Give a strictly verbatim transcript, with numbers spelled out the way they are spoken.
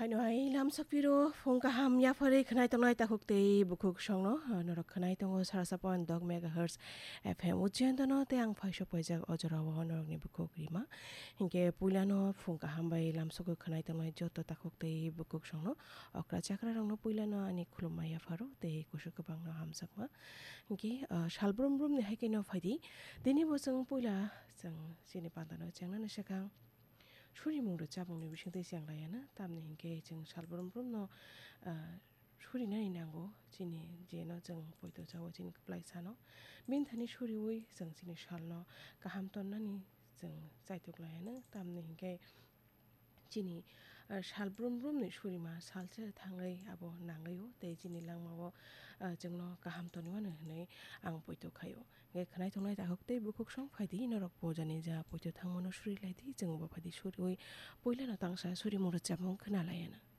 Aino hai lamsok piro phung kaham yapharwi khwnai tongnai takhuk tei bukhuk songno, ah, norok khwnai tongo sarasa point dok megahertz F M Ujjayan dono tei ang phaisok paijak o jorao norokni bukhuk rima. Hinkhe puilano phung kaham bai lamsogo khwnai tongnai joto takhuk tei bukhuk songno okra chakra rokno puilano ani khulumma yapharo tei kusu kwbangno hamjakma. Hinkhe, ah, sal brum brumni hai khe no phaidi. Tini bo chwng puila chwng chini pandano chengnani swkang surimung rwchapmungni bisingtwi cheng laiyana, tamni hinkhe chwng sal brum brumno, ah, surinani nango, chini jeno chwng poito chao chini kwplai sano. Bini thani suriwi chwng chini salno kaham tonnani chwng chaitok laiyana, tamni hinkhe chini, ah, sal brum brumni surima salsa thangwi abo nangwi-o tei chini langmao, ah, chwngno kaham tonwi mano hwnwi ang poito khaio. Hinkhe khwnai tongnai takhuk tei bukhuk song phaidi, norok bo jani ja poito thangmano suri laidi, chwng bo phaidi suriwi puilano tangsa surimung rwchapmung khna laiyana.